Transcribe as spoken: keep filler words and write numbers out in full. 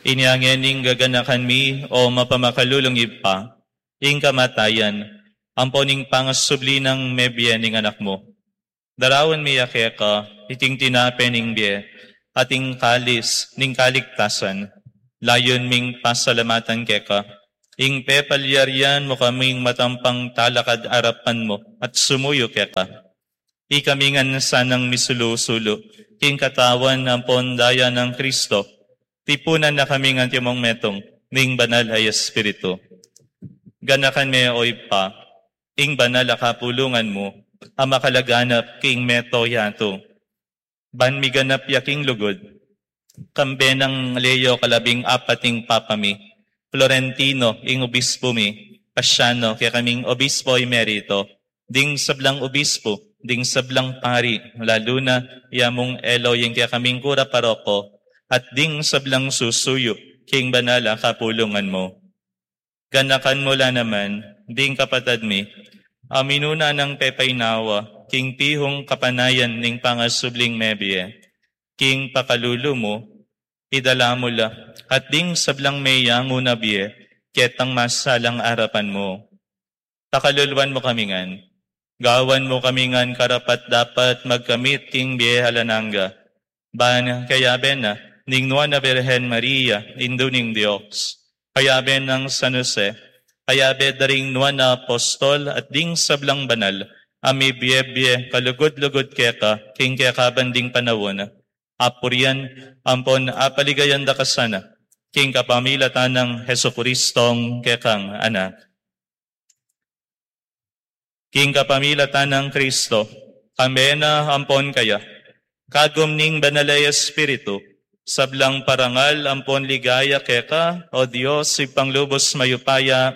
Inya ngening gaganakan mi, o mapamakalulung Ibpa, ing kamatayan ampon ing pangasubli nang mebie ning Anak mu. Daraun mi ya keka iting tinape ning bie at ing kalis ning kaligtasan. Layun ming pasalamatan keka ing pepalyarian mu kaming matampang talakad arapan mu at sumuyu keka. Ikami ngan sanang misulu-sulu king katawan ampon daya nang Kristo, tipunan na kaming antimong metung ning Banal a Espiritu. Ganakan me, o Ibpa, ing banal a kapulungan mu a makalaganap king mabilug a yatu. Ban miganap ya king lugud, kambe nang Leo kalabing apat ing Papa mi, Florentino ing Obispo mi, Paciano kekaming Obispo Emerito, ding sablang obispo, ding sablang pari, lalu na ya mung Elo ing kekaming kura paroko, at ding sablang susuyu king banal a kapulungan mu. Ganakan mu la naman ding kapatad mi a minuna nang pepainawa king pihung kapanayan ning pangasubling mebie. King pakalulu mu, idala mu la at ding sablang meyangu na bie ketang masalang arapan mu. Pakaluluan mu kami ngan. Gawan mu kami ngan karapat-dapat magkamit king bie alang angga. Ban kayabe na ning Nuan a Birhen Maria, Indu ning Dios, kayabe nang San Jose, kayabe da ring nuan a apostol at ding sablang banal a mibie-bie kalugud-lugud keka king kekaban ding panaun, apurian ampon apaligayan da ka sana king kapamilatan nang Jesucristong kekang Anak. King kapamilatan nang Kristo, kambe na ampon kaya, kagum ning Banal a Espiritu, sablang parangal ampon ligaya keka, o Dios, Ibpang lubus mayupaya,